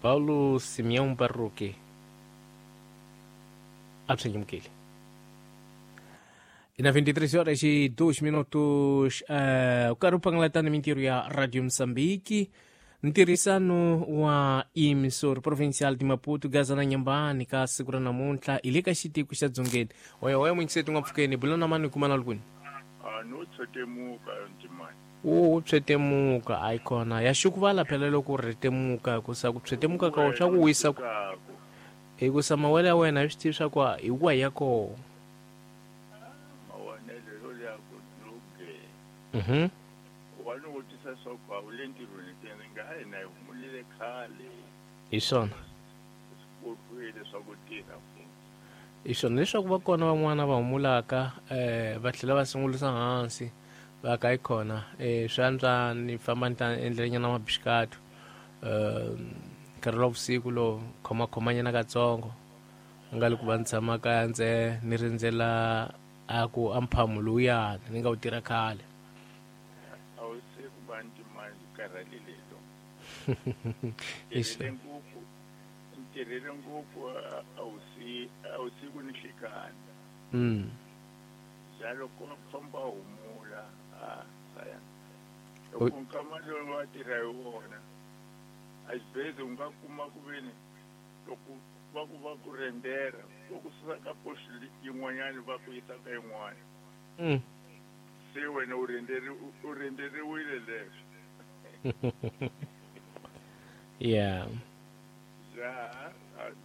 Paulo Simeão Barroque a byi nyamukeli. Na 23 horas e 2 minutos, u karhi u pangalatana mintirho ya Radio Mozambique, ntirhisano wa Emissor Provincial de Maputo, Gaza na Nyambani ka siku ra namuntlha hi le ka xitiko xa Dzongeni. Oya oya munyiseti n'wa pfukeni bula na mani kuma na lukuni. A no tshetemuka ntimani. Wu tshetemuka ayi kona ya xukuvala phela loko u rhetemuka hikusa ku tshetemuka ka swa ku wisa ku hikusa mawele ya wena hi swi tivi swa ku hi wa ya koho. Mawonelo ya ku luge. Wa ni vutisa swa ku a wu le ntirhweni ke ni nga a hina hi humulile khale. Hi swona. Swi kotwile swa ku tirha futhi. Hi swona leswaku va kona van'wana va humulaka va tlhela va sungulisa hansi va ka yi kona swi antswa ni famba ni ta endlelanyana mabixikatu nkarhi wa vusiku lowu khomakhomanyana katsongo nga li ku va ni tshama kaya ndze ni rindzela a ku a mphamu lowuyani ni nga wu tirha khale. A wu se ku va ntimani karhalile lo. Tirhele ngopfu, ntirhele ngopfu a wu si a wu siku ni nhlikani. Ja loko famba humula a saya. Loko nkama lowu wa tirha hi wona a xibedhlele u nga kuma ku veni loko va ku va ku rendera va ku susa ka post yin'wanyana va ku yisa ka yin'wana. Se wena u u renderiwile leswo. Yeah. Ja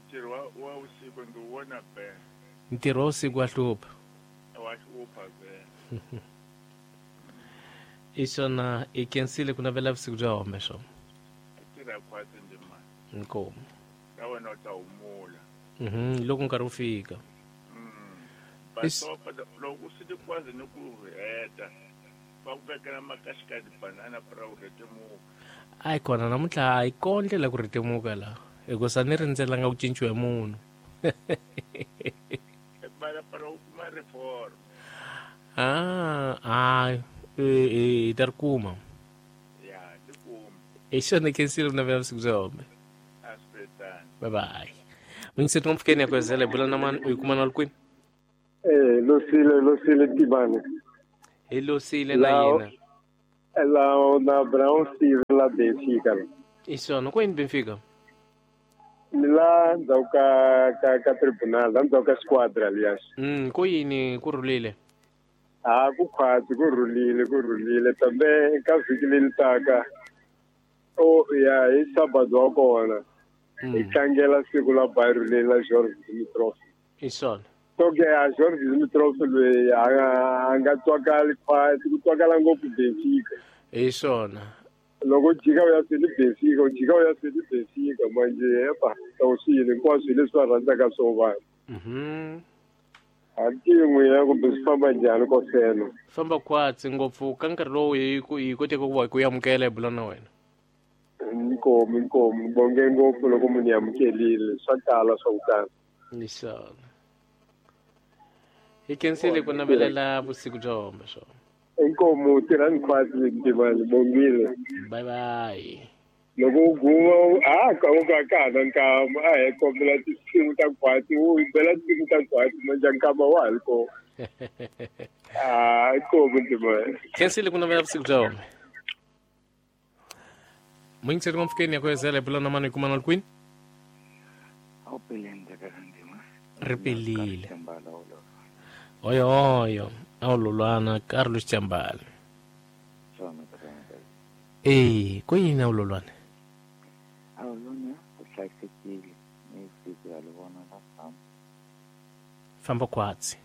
ntirho wa vusiku ndzi wu vona be. Ntirho wa vusiku wa hlupha. Wa hlupha be. I swona i kensile ku navela vusiku bya home swona. Tirha khwatsi ndimani. Inkomu. Na wena u ta humula. Loko nkarhi wu fika. Basopa loko swi ti kwazi ni ku heta va ku vekela makaxikati banana pra u rhetemuka. Ayi kona namuntlha a yi kona ndlela ku rhetemuka la hikusa ni rindzelanga ku cinciwa hi munhu. Bala para u kuma reform. Ah, hi ta ri kuma. Ya, ti kuma. Hi xona khensile ku navela vusiku bya home. A swi tano. Bye bye. Munyiseti wa mpfukeni ya kwezela hi bula na mani u yi kuma na li kwini? Losile Tibane. Hi losile na yena. La na Brown Steve la Benfica. I swona ko yini Benfica? Ni la ndzhaku ka tribunal, la ndzhaku ka squadra alias. Ko yini ku rhulile? Ha ku khwatsi ku rhulile kambe ka vhiki leri taka o ya hi Sabado wa kona. Hi tlangela siku la Bairro leri la George Dimitrov. I swona. So ke a George Dimitrov loyi a nga twakali khwatsi ku twakala ngopfu Benfica. Hi swona. Loko jika u ya swini Benfica, u jika u ya swini Benfica manje epa tawusile hinkwaswo leswi va rhandzaka swo vanhu. A tin'we kumbe swi famba njhani ko fela. Famba khwatsi ngopfu ka nkarhi lowu hi koteke ku va ku amukela hi bula na wena. Inkomu bonge ngopfu loko munhu amukelile swa tala swa ku tala. Hi swona. Hi khensile ku navelela vusiku bya home swona. Inkomu tirhani khwatsi Ntimani bongile. Bye bye. Loko u guma a ka u ka ka na nkama a hi kombela tinsimu ta khwatsi u bela tinsimu ta khwatsi manje nkama wa ha ri kona. Inkomu Ntimani. Khensile ku navela vusiku bya home. Munyiseti wa mpfukeni ya kwezela hi bula na mani hi kuma na li kwini? Ri pelile. Oyo oyo a wu lolwana Carlos Chambala. Ko yini a wu lolwana? A wu lolwana ku hlayisekile ni siku ya li vona la famba. Famba khwatsi.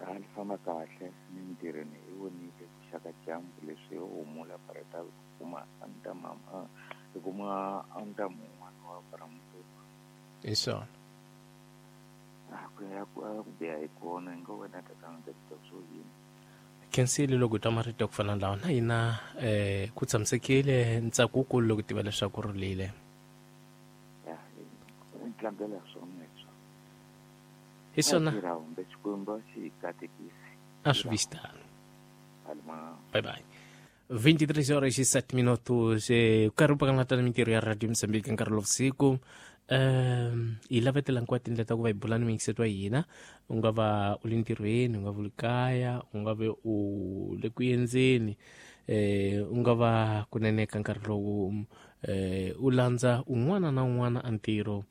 A li famba kahle ni ntirhweni hi vonile ku xaka dyambu leswi ho humula pareta ku kuma antamama hi kuma antamu un'wana wa Bramutuku. Hi swona. Ku ya ku biha hi kona hi nga wena tatana ta swo yini. Khensile loko hi twa marito ya ku fana na lawa na hina ku tshamisekile ntsako wukulu loko tiva leswaku rhulile. Ya, tlangela swona leswo. Hi swona. Xikwembu xi hi katekisi. A swi vi xitano. Bye bye. 23 horas e 7 minutos. Karhi pakangatana mintirho ya Radio Mozambique nkarhi lowu vusiku. Hi lavetela hinkwato tindlela ta ku va hi bula ni muyingiseti wa hina. U nga va u le ntirhweni, u nga va u le kaya, u nga ve u le ku endzeni, u nga va kunene ka nkarhi lowu u landza un'wana na un'wana a ntirho,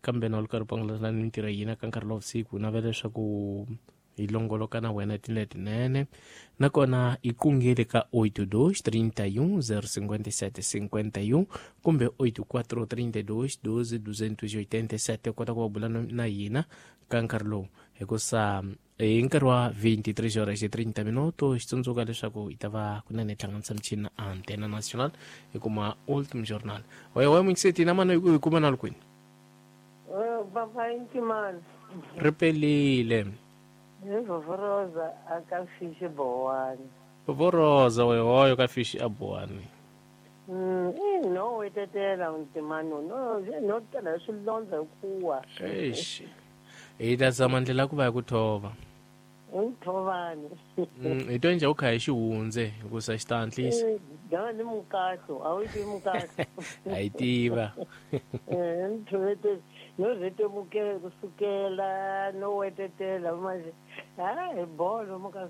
kambe na u ri karhi u pangalata ni mintirho ya hina ka nkarhi lowu vusiku, navela leswaku hi longoloka na wena tindlela tinene. Nakona hi kungele ka 82 31 057 51 kumbe 84 32 12 287 u kota ku va bula na hina ka nkarhi lowu, hikusa hi nkarhi wa 23 horas e 30 minutos xi tsundzuka leswaku hi ta va kunene hlanganisa michini na Antena Nacional hi kuma Ultim Journal. Oye muyingiseti na mani hi kuma na kwini? Papa Ntimani. Ri pelile. Vovoroza aka fishi bowani. Vovoroza wehoyo ka fishi a bowani. No wetetela Ntimani no no tela swilondza kuwa. Eish. Hi ta zama ndlela ku va hi ku thova. Nthovani. Hi to endla u kha hi xihundze hikusa xi ta hatlisa. Dava ni mukato, a wu tivi mukato. A yi tiva. Nthovete no rhetemukela kusukela no wetetela manje. Ha hi bolo muka.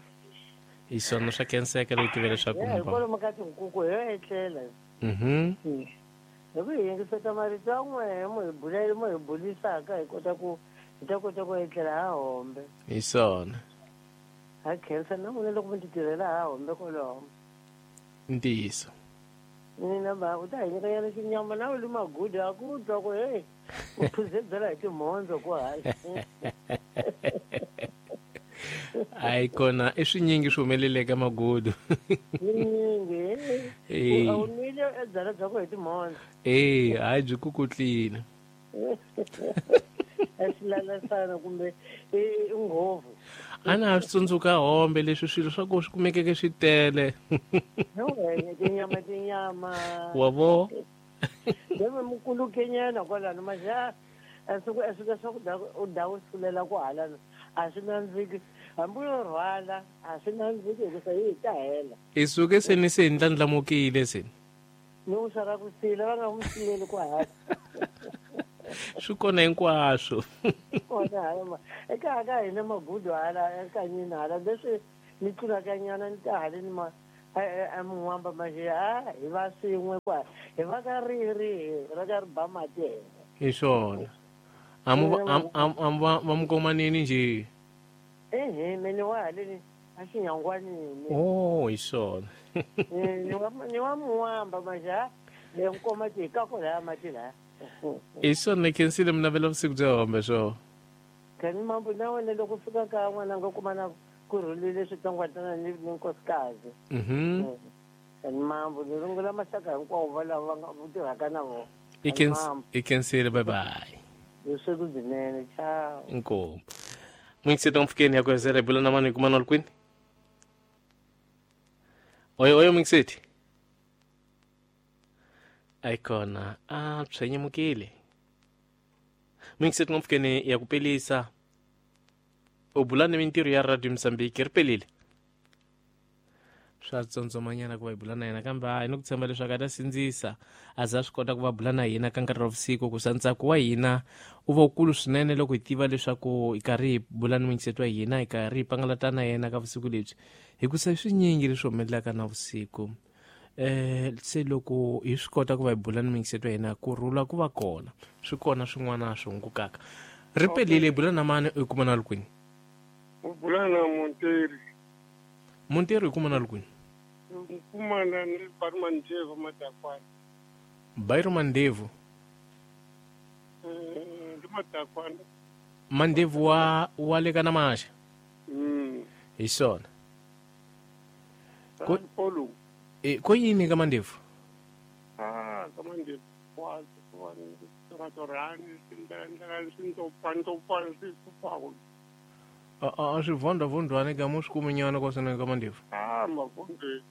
Hi swona swa khenseka loko tiva leswaku hi bolo muka tinkuku hi etlela. Hi ku yingiseta marito ya n'wehe mo hi bulela mo hi bulisaka hi kota ku hi ta kota ku etlela ha hombe. Hi swona. Ha khensa na n'wina loko mi ti tirhela ha hombe kwaloho. Ntiyiso. Mina ba u ta hi nyikanyana xinyama na u li magudu a ku twa ku hey u phuze byala hi timhondzo ku hayi. Hayi kona i swinyingi swi humeleleke magudu. Swinyingi. A wu nwile e byala bya ku hi timhondzo. Hayi byi kukutlile. A swilalasana kumbe i nghovu. A na ha swi tsundzuka hombe leswi swilo swa ku swi kumekeke swi tele. Tinyama tinyama. Wa vo? Deve mukulukenyana kwalano maxa a swi swakudya u da u sulela ku halana a swi nandziki hambi yo rhwala a swi nandziki hikusa yi ta hela. I suke se ni se ndlandlamukile se. Ni u sara ku sila va nga n'wi sileli ku hala. Swi kona hinkwaswo. Kona hala eka ka hina magudu hala ekanyini hala leswi ni tlulaka nyana ni ta haleni ma a mun'wamba manje a hi va swin'we kwa hi va ka riri ra ka ri ba mati hina. Hi swona. Amu va mukomanini njhe? Ehe mene wa haleni a xinyangwanini. Oh hi swona. Ni wa mun'wamba manje a le nkoma ti ka ko laya mati laya. Hi swona khensile mi navela vusiku bya hombe swo. Kani mambo na wena loko fika ka n'wana nga kuma na ku rhulile switsongwatsongwana ni nkosikazi. Kani mambo ni rungula maxaka hinkwawo va lava va nga tirhaka na vona. I khensile bye bye. Vusiku byinene ciao. Inkomu. Muyingiseti mpfukeni ya ku hezela hi bula na mani hi kuma na kwini? Oyo oyo muyingiseti. Ayikona a tshwenyemukile. Muyingiseti mpfukeni ya ku pelisa. U bula ni mintirho ya Radio Mozambique ri pelile. Swa tsondzomanyana ku va hi bula na yena kambe hayi ni ku tshemba leswaku a ta sindzisa a za swi kota ku va bula na hina ka nkarhi wa vusiku ku sa ntsako wa hina u va wukulu swinene loko hi tiva leswaku hi karhi hi bula ni muyingiseti wa hina hi karhi hi pangalata na yena ka vusiku lebyi hikusa swinyingi leswi humelelaka na vusiku. Se loko hi swi kota ku va hi bula ni muyingiseti wa hina ku rhula ku va kona swi kona swin'wana swi hungukaka. Ri pelile hi bula na mani u kuma na kwini? U bula na Monteri. Monteri u kuma na kwini? Kumana ni Bairo Mandevu Madakwana. Bairo Mandevu. Ndi Madakwana. Mandevu wa le ka Namaxa. Hi swona. Ko polo. Ko yini ka Mandevu? Ah, ka Mandevu wa wa ndlela swintopantopana swi pfaku. A swi vhondwa-vhondwani ka mo swi kuminyana kwa swona ka Mandevu. Ah, mavhondwe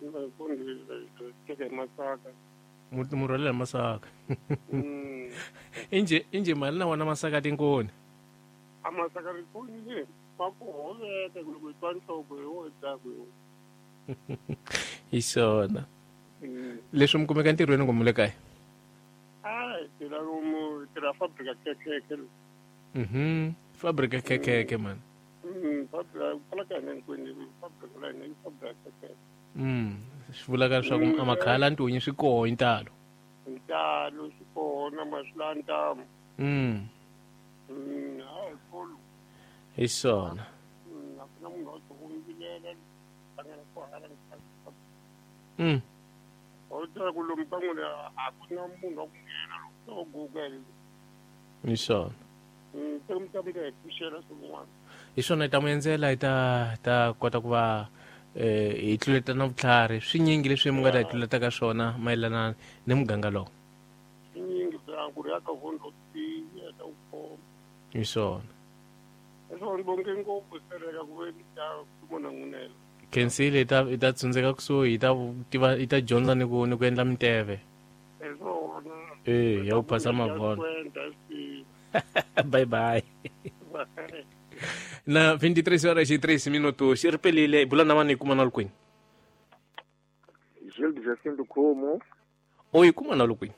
teke masaka. Mu rhwalela masaka. Inje mali na wona masaka tinkoni. A masaka rikoni le va ku hoveka loko hi twa nhloko hi wo dzaku hi. Hi swona. Leswi mi kumeka ntirhweni kumbe le kaya? A hi tirha lomu tirha fabrika khekhe. Fabrika khekhe man. Fabrika kwala ka hina hinkwenu fabrika la hina i fabrika khekhe. Swi vulaka leswaku a makhala ntunyi swi koho hi ntalo. Ntalo swi kona maswi ntamu. Hayi kolo. Hi swona. A ku na munhu wa ku vilela hlangana ko hala. O ta ku lomu ka n'wina a ku na munhu wa ku nghena loko Google. Hi swona. Se mi ta mi ta hi pfuxela swin'wana. Hi swona hi ta mu endzela hi ta kota ku va hi tluleta na vutlhari swinyingi leswi mi nga ta hi tluleta ka swona mayelana ni muganga lowu. Swinyingi bya ku ri ya ka vondo tiya ta ku khoma. Hi swona. Hi swona bonke ngopfu sereka ku ve ta kumona n'winela. Khensile hi ta tsundzeka kusuhi hi ta tiva hi ta dyondza ni ku endla minteve. Hi swona. Ya ku phasa mavona. Bye bye. Na 23 horas e 3 minutos. Xi ri pelile bula na vanhu hi kuma na lukwini. Gilles Jacinto Khomo. O hi kuma na lukwini.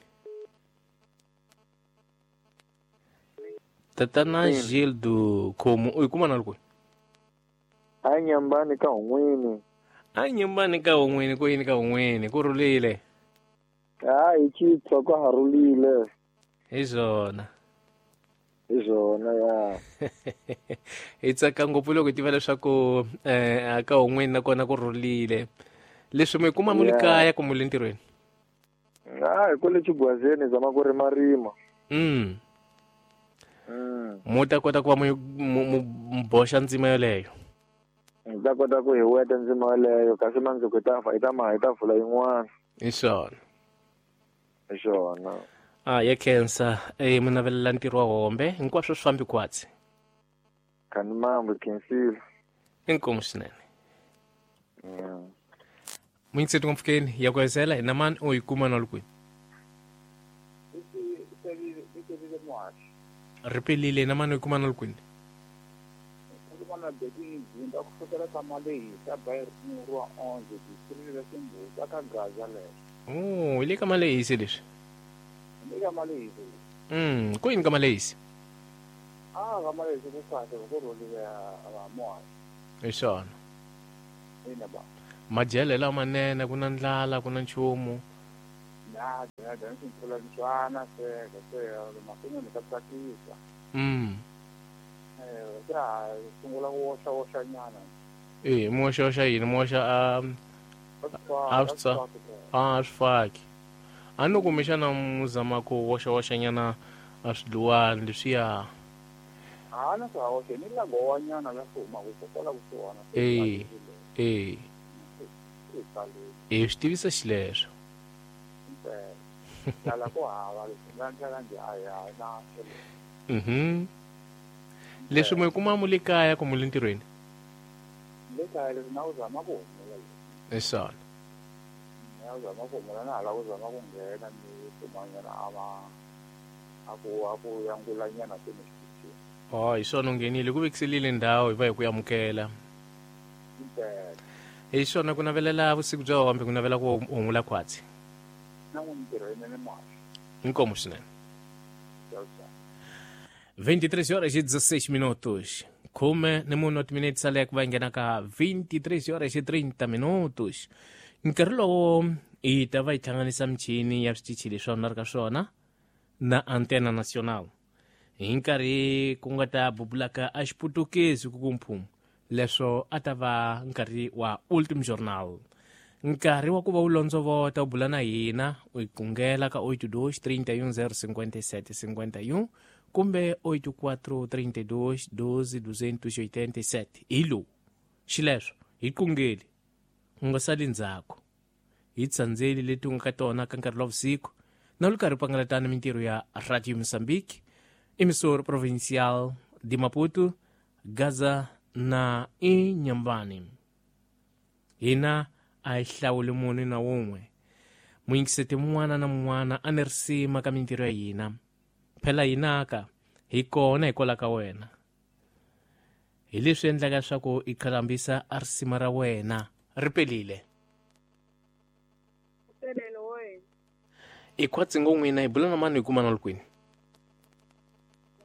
Tatana Gildo Khomo o hi kuma na lukwini. A nyambani ka un'wini. A nyambani ka un'wini ku yini ka un'wini ku rhulile. Hayi chitwa ka harulile. Hi swona. Hi swona ya. Hi tsaka ngopfu loko hi tiva leswaku ka un'wini nakona ku rhulile. Leswi mi kuma mu le kaya kumbe le ntirhweni? Hayi kwale Chigwazeni zama ku rimarima. Mu ta kota ku va mu boxa ndzima yoleyo. Hi ta kota ku hi weta ndzima yoleyo kasi mandzuku hi ta hi ta vula yin'wana. Hi swona. Hi swona. Ya khensa mi navelela ntirho wa hombe hinkwaswo swi fambi khwatsi. Khani mambo khensile. Inkomu swinene. Muyingiseti ngopfukeni ya ku hezela hi na mani u yi kuma na lukwini. Ri pelile na mani u yi kuma na lukwini. Oh, hi le ka Malehisi leswi. Le ka Malehisi. Ku yini ka Malehisi? Ka Malehisi ku kahle ku rhulile va moya. Hi swona. Ina ba. Madyelo lamanene ku na ndlala ku na nchumu. Na dya ni mpfula ntswana se masin'wini ka tsakisa. Ya sungula ku woxa woxa nyana. Mu woxa woxa yini? Mu woxa a swi faki. A no kumbexana mu zama ku woxa woxa nyana a swidluwani leswiya. A na swa woxa ni la gowa nyana la swi humaka kokwala kusuhana. Swi tivisa xileswo. Ndlala ku hava leswi nga ndlela njhe a ya na. Leswi mi kuma mu le kaya kumbe le ntirhweni? Le kaya leswi na u zama ku humula. Hi swona. Na u zama ku humula na hala u zama ku nghena ni kumanyana a ku yangulanyana se ni xitichini. Hi swona u nghenile ku vekiselile ndhawu hi va hi ku amukela. Hi swona ku navelela vusiku bya hombe ku navela ku humula khwatsi. Na n'wi ntirho yinene muhaxi. Inkomu swinene. 23 horas e 16 minutos. Khume ni munhu timinete sale ku va nghena ka 23 horas e 30 minutos. Nkarhi lowo hi ta va hi hlanganisa michini ya switichi leswi a ri ka swona na Antena Nacional. Hi nkarhi ku nga ta bubulaka a xiputukezi ku kumphumu leswo a ta va nkarhi wa Ultim Journal. Nkarhi wa ku va u londzovota u bula na hina u hi kungela ka 82 31 057 51 kumbe 84 32 12 287. Hi lowu xileswo hi kungeli u nga sali ndzhaku hi tsandzeli leti u nga ka tona ka nkarhi wa vusiku na lu karhi pangalatana mintirho ya Radio Mozambique, emissor provincial de Maputo, Gaza na Inhambane. Hina a hi hlawuli munhu na wun'we. Muyingiseti mun'wana na mun'wana a ni risima ka mintirho ya hina. Phela hinaka hi kona hikwalaho ka wena. Hi leswi endlaka leswaku i qhalambisa a risima ra wena ri pelile. I khwatsi ngo n'wina hi bula na mani hi kuma na kwini?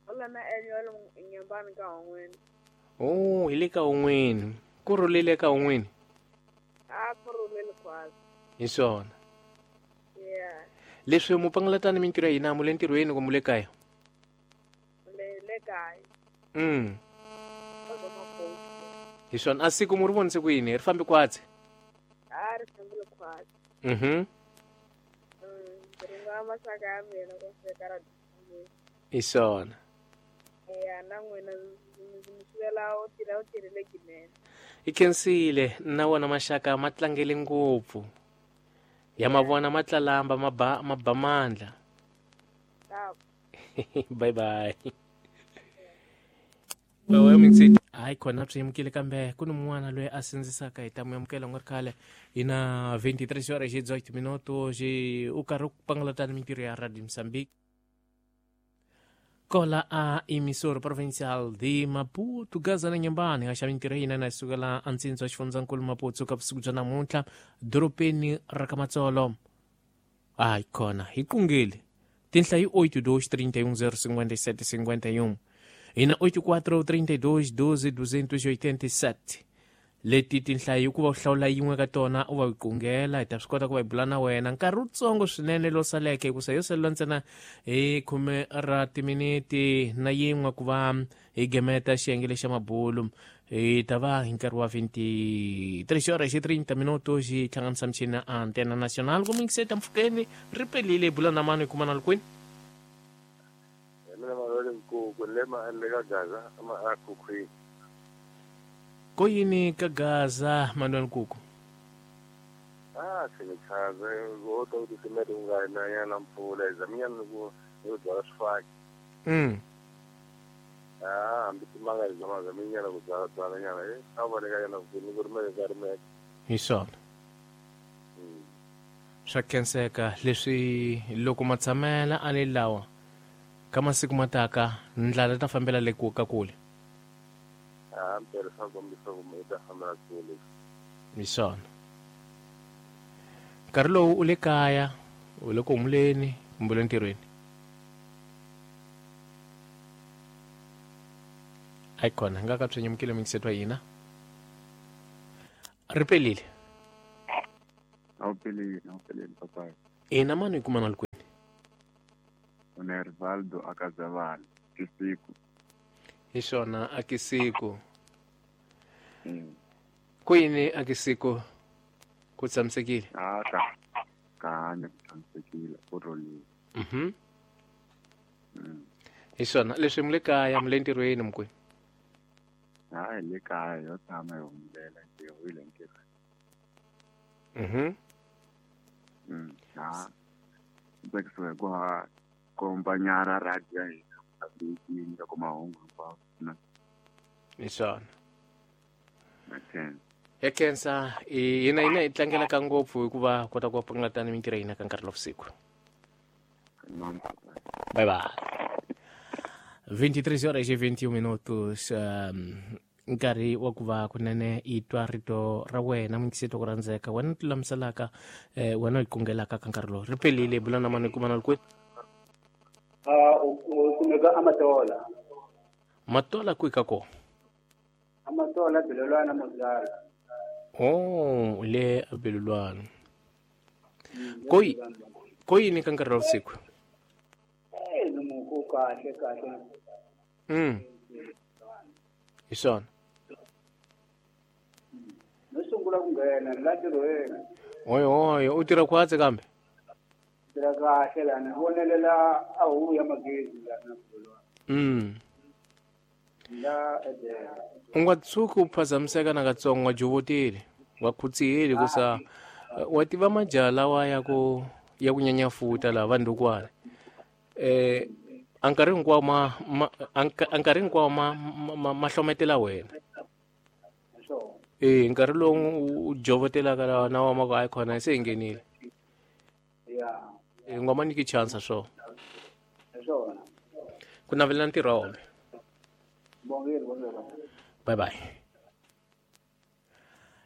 Bula na Enyo Nyambani ka un'wini. Oh, hi le ka un'wini. Ku rhulile ka un'wini? A ku rhulile khwatsi. Hi swona. Yeah. Leswi mu pangalatani mintirho ya hina mu le ntirhweni kumbe mu le kaya? Le kaya. Hi swona. A siku mu ri vonise ku yini? Ri fambe khwatsi? A ri fambile khwatsi. Ringa maxaka ya mina ku fika ra hi swona. Ya na n'wina ndzi mi xivela u tirha u tirhile kinene. I khensile na wona maxaka ma tlangele ngopfu. Ya mavona ma tlalamba ma ba mandla. Bye bye. Hayi khona swi yamukile kambe ku ni mun'wana loyi a sindzisaka hi ta mu yamukela nga ri khale hi na 23 horas e 18 minutos u karhi ku pangalatana mintirho ya Radio Mozambique. Kola a emissora provincial de Maputo, Gaza na Nyambani, a xava mintirho hina na sukela antsindzi wa xifundzankulu Maputo ka vusiku bya namuntlha dorobeni ra ka Matsolo. Hayi khona hi qungile tinhla hi 8 2 31 057 51 hi na 84 32 12 287 leti tinhla hi ku va u hlawula yin'we ka tona u va yi qungela hi ta swi kota ku va hi bula na wena nkarhi wutsongo swinene lowu saleke hikusa yo salela ntsena hi 10 ra timiniti na yin'we ku va hi gemeta xiyenge lexa mabulu hi ta va hi nkarhi wa 23 horas e 30 minutos hi hlanganisa michini ya Antena Nacional ku mingiseta mpfhukeni ri pelile hi bula na mani hi kuma na kwini. Ko yini ka Gaza Manuel Nkuku? Ah, sinichaze kodwa ukuthi simele ungananyana mpfula izaminyana ku ngizwa sifaki. Ah, hambi timanga izama zaminyana kuzala tsala nyana aboneka yana kuni kurumele karumele. Hi swona. Swa khenseka leswi loko matshamela a ni lawa ka masiku mataka ndlala ta fambela le ku ka kule. Ah, mpela swa kombisa ku mi ta fambela kule. Hi swona. Nkarhi lowu u le kaya, u le ku humuleni kumbe le ntirhweni? Hayi khona nga ka swi nyamukile mingiseto wa hina. Ri pelile. A wu pelile, a wu pelile papa. Ina mani hi kuma na kwini? Une Rivaldo akazavana kisiku. Hi swona akisiku. Ku yini akisiku ku tshamisekile? Ah, ka ka hanya ku tshamisekile ku rhulile. Hi swona leswi mu le kaya mu le ntirhweni mukweni? Hayi le kaya yo tshama hi humelela ntirho hi le ntirhweni. Ha tsakisiwa hi ku ha kombanyara radio ya hina yi nyika ku mahungu hinkwawo na hi swona. Ya khensa hina hina hi tlangelaka ngopfu hikuva kota ku pangalatana mintirho ya hina ka nkarhi lowu vusiku. Bye bye. 23 horas e 21 minutos nkarhi wa ku va kunene i twa rito ra wena mingiseto ku rhandzeka wena ti lulamiselaka wena u yi kungelaka ka nkarhi lowu ri pelile bula na mani kuma na kwini? U kumeka Amatola. Matola kwihi ka kona? Amatola Belolwana Mozala. Oh, le Belolwana. Ko yini ka nkarhi wa vusiku? Ku kahle kahle. Hi swona. No sungula ku nghena la ntirhweni. Oyo oyo u tirha khwatsi kambe? Tirha kahle lana vonelela a huku ya magezi lana Belolwana. La edela. U nga tshuki u phazamiseka nakatsongo wa jovotile wa khutsihile kusa wa tiva majaha lawa ya ku nyanyafuta laha vandukwana a nkarhi hinkwawo ma hlometela wena. Nkarhi lowu u jovotelaka lawa na wa ma ku hayi khona se hi nghenile. U nga ma nyiki chance swona. Ku navelela ntirho wa wona. Bye bye.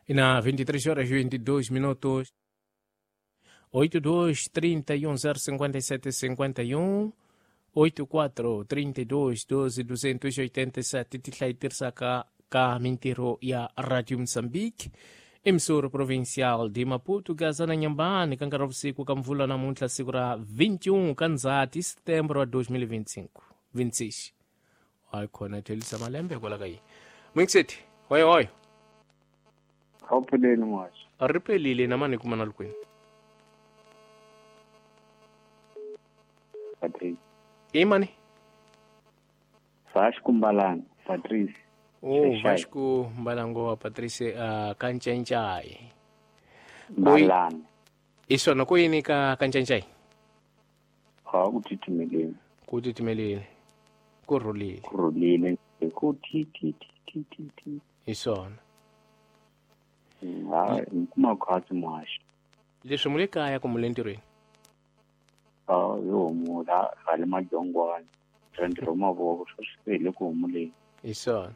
Ina 23 horas e 22 minutos. 82 31 057 51 84 32 12 287 tihlayi tirhisaka ka mintirho ya Radio Mozambique emissora provincial de Maputo Gaza na Nyambani ka nkarhi wa vusiku ka mvula namuntlha siku ra 21 ka Ndzhati Setembro wa 2025 26 hayi khona thelisa malembe kwala ka yi Mwingiseti hoyo hoyo Awupheleli mwaxi. A ri pelile na mani kuma na lukwini Patrice. I mani? Vasco Mbalanga, Patrice. Oh, Vasco Mbalango wa Patrice Kancencai. Mbalanga. Isona ku yini ka Kancencai? Ha ku titimeleni. Ku titimeleni. Ku rhulile. Ku rhulile. Ku ti ti ti ti ti. Isona. Ha, kuma khwatsi mwaxi. Leswi mu le kaya kumbe le ntirhweni? Ha, yo humula hale madyongwana. Ntirho mavoko swi le ku humuleni. Isona.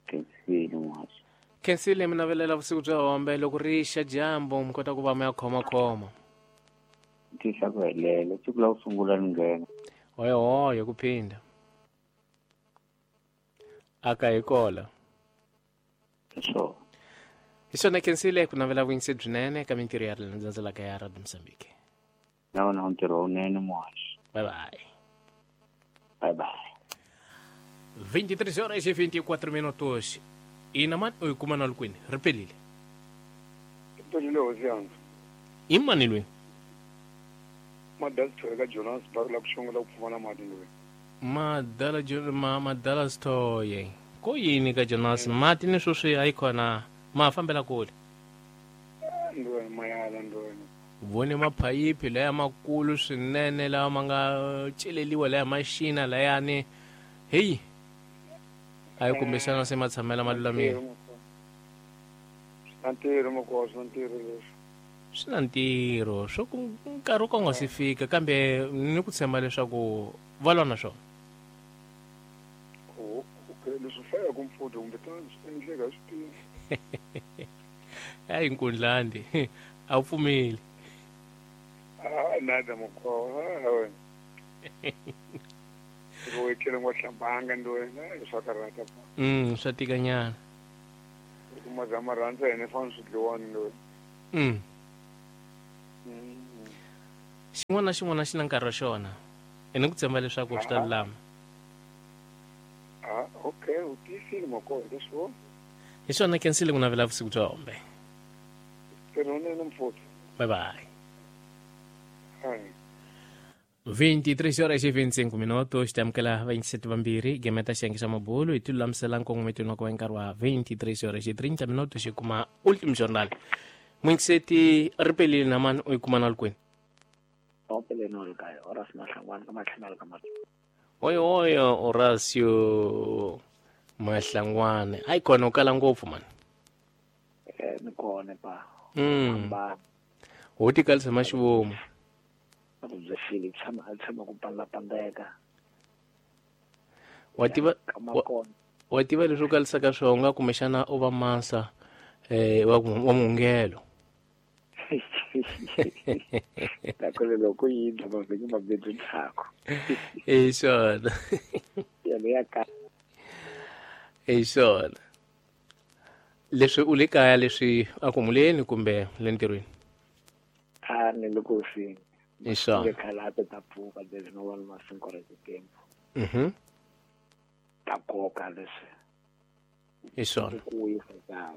Khensile mwaxi. Khensile mi navelela vusiku bya hombe loko ri xa dyambu mi kota ku va mi ya khomakhoma. Tihla ku helela siku la ku sungula ni nghena. Hoyo hoyo ku phinda. Aka hi kola. So. Hi swona Khensile ku navela vuyingisi byinene ka mintirho ya landzelaka ya Radio Mozambique. Na wona ntirho wunene mwaxi. Bye bye. Bye bye. 23 horas e 24 minutos. Ina mani u kuma na lukwini ri pelile. Pelile hosi yanga. I mani lweni? Madala Thoye ka Jonas Barula ku xongela ku pfumala mati lweni. Madala Madala Thoye. Ko yini ka Jonas mati ni sweswi a yi khona ma fambela kule. Ndweni mayala ndweni. Vone maphayiphi laya makulu swinene lawa ma nga celeliwa laya maxina layani. Hey. Ayi kumbexana se ma tshamela ma lulamile. Swi na ntirho makosi, swi na ntirho leswi. Swi na ntirho swo ku nkarhi wo ka nga si fika kambe ni ku tshemba leswaku va lwa na swona. Okay, leswi hlayaka mpfhuta kumbe tani swi endleka swi tivi. Hayi nkundlandi a wu pfumeli. Ah, nada makosi, wena. Loko etlele ngo hlambanga ndweni swa karhata. Swa tikanyana. Ku mazama rhandza yena fana swi dliwani ndweni. Xin'wana na xin'wana xi na nkarhi wa xona. Ene ku tshemba leswaku swi ta lulama. Ah, okay, u tiyisile makosi leswo. Hi swona Khensile ku navela vusiku bya hombe. Tirhonene mfuthu. Bye bye. Hi. 23 horas e 25 minutos tamukela vayingiseti vambirhi gemeta xiyenge xa mabulu hi tilulamisela nkongometweni wa ku va nkarhi wa 23 horas e 30 minutos hi kuma ultimo jornal. Muyingiseti ri pelile na mani u yi kuma na lukwini? Oyo oyo Horacio Mahlangwane. Hayi kona u kala ngopfu mani. Ni kona pa. Ho tikalisa maxivomu. Byi tshama a tshama ku pandapandeka. Wa tiva wa tiva leswi u kalisaka swona u nga kumbexana u va masa wa muhungelo. Nakona loko yi endla mavhiki mambirhi ndzhaku. Hi swona. Yona ya ka. Hi swona. Leswi u le kaya leswi a ku humuleni kumbe le ntirhweni? A ni le ku hosini. Isso. Nge khalata ta pfuka leswi no vona masinko ra titempo. Ta koka leswi. Isona. Ku yisa kaya.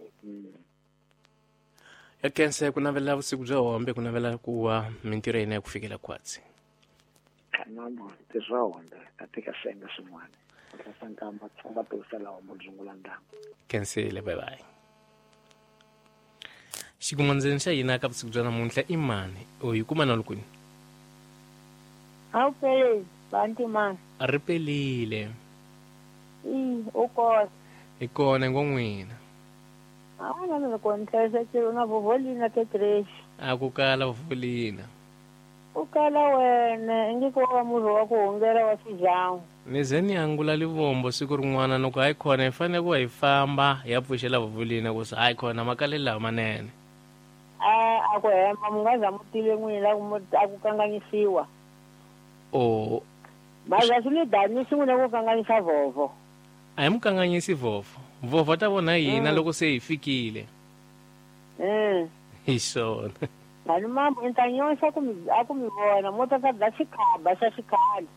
Ya kense ku navela vusiku bya hombe ku navela ku wa mintirho ya hina ya ku fikela khwatsi. Kanambo ntirho wa hombe a tika senga swin'wana. Tlasa nkamba tsonga tirhisela hombo dzungula ndhawu. Kensile bye bye. Xikumandzeni xa hina ka vusiku bya namuntlha i mani? U yi kuma na lukwini? A wu peleli, banti mani. A ri pelile. I, u kona. Hi kona ngo n'wina. A na mina kona hlayisekile na vovolina tetrexi. A ku kala vovolina. U kala wena ingi ko wa murhi wa ku hungela wa swijangu. Ni ze ni angula livombo siku rin'wana loko hayi khona hi fanele ku hi famba hi ya pfuxela vovolina ku se hayi khona makalelo lawa manene. A ku hemba mi nga za mu tive n'wina a ku kanganyisiwa. O Maza swi ni danisi n'wina ku kanganyisa vhovho. A hi mu kanganyisi vhovho. Vhovho ta vona hina loko se hi fikile. Hi swona. Mhani mambo ni ta nyoxa ku mi a ku mi vona mo ta ta dla xikhaba xa xikhale.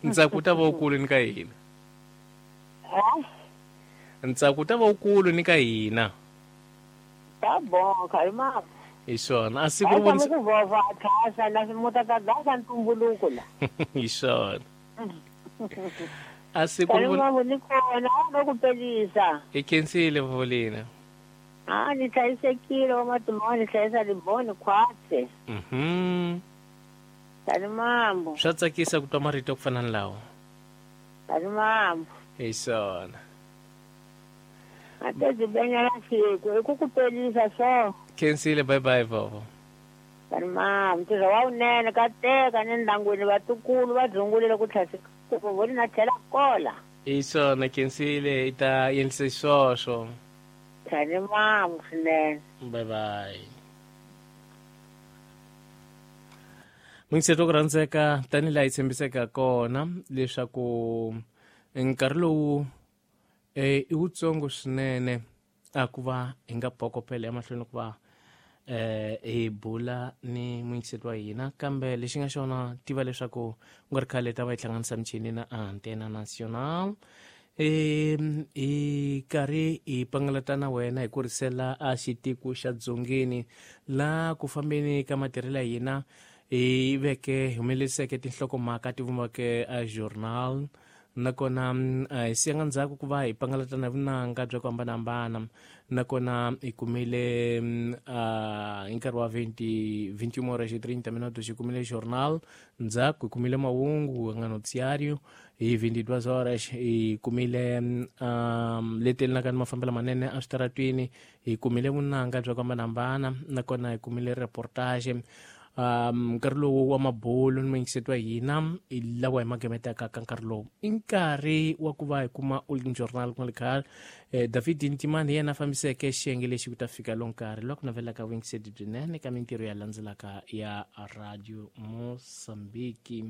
Ntsako wu ta va wukulu ni ka hina. Ntsako wu ta va wukulu ni ka hina. Ta bon khali mambo. Hi swona. A siku ri vonisa ku vhovho a thasa na mo ta ta dla xa ntumbuluko la. Hi swona. A siku ri mambo ni kona a ku pelisa. I khensile Volina. A ni hlayisekile wa matimba ni hlayisa liboni khwatse. Tani mambo. Swa tsakisa ku twa marito ku fana ni lawa. Tani mambo. Hi swona. A te byi benyela siku i ku ku pelisa so. Khensile bye bye vovo. Tani mambo ntirho wa wunene ka teka ni ndyangwini vatukulu va dzungulile ku tlhasika ku voni na tlhela kola. Hi swona khensile i ta endlise swoswo. Tani mambo swinene. Bye bye. Mingiseto ku rhandzeka tanihi laha yi tshembiseka kona leswaku nkarhi lowu i wutsongo swinene a ku va hi nga phokopela emahlweni ku va hi bula ni muyingiseti wa hina kambe lexi nga xona tiva leswaku ku nga ri khale ta va hi hlanganisa michini na Antena Nacional hi karhi hi pangalata na wena hi kurisela a xitiko xa dzongeni la ku fambeni ka matirhelo ya hina hi veke humeleriseke tinhlokomhaka ti vumbake a journal nakona hi siyanga ndzhaku ku va hi pangalata na vunanga bya ku hambanahambana nakona hi kumile hi nkarhi wa 21 horas e 30 minutos hi kumile journal ndzhaku hi kumile mahungu nga noticiário hi 22 horas hi kumile letelinaka ni mafambelo manene eswitaratwini hi kumile vunanga bya ku hambanahambana nakona hi kumile reportage nkarhi lowu wa mabulu ni muyingiseti wa hina hi lawa hi magemetaka ka nkarhi lowu i nkarhi wa ku va hi kuma Ultim Journal ku nga ri khale David Ntimani hi yena a fambiseke xiyenge lexi ku ta fika lo nkarhi lowa ku navelaka vuyingiseti byinene ka mintirho ya landzelaka ya Radio Mozambique.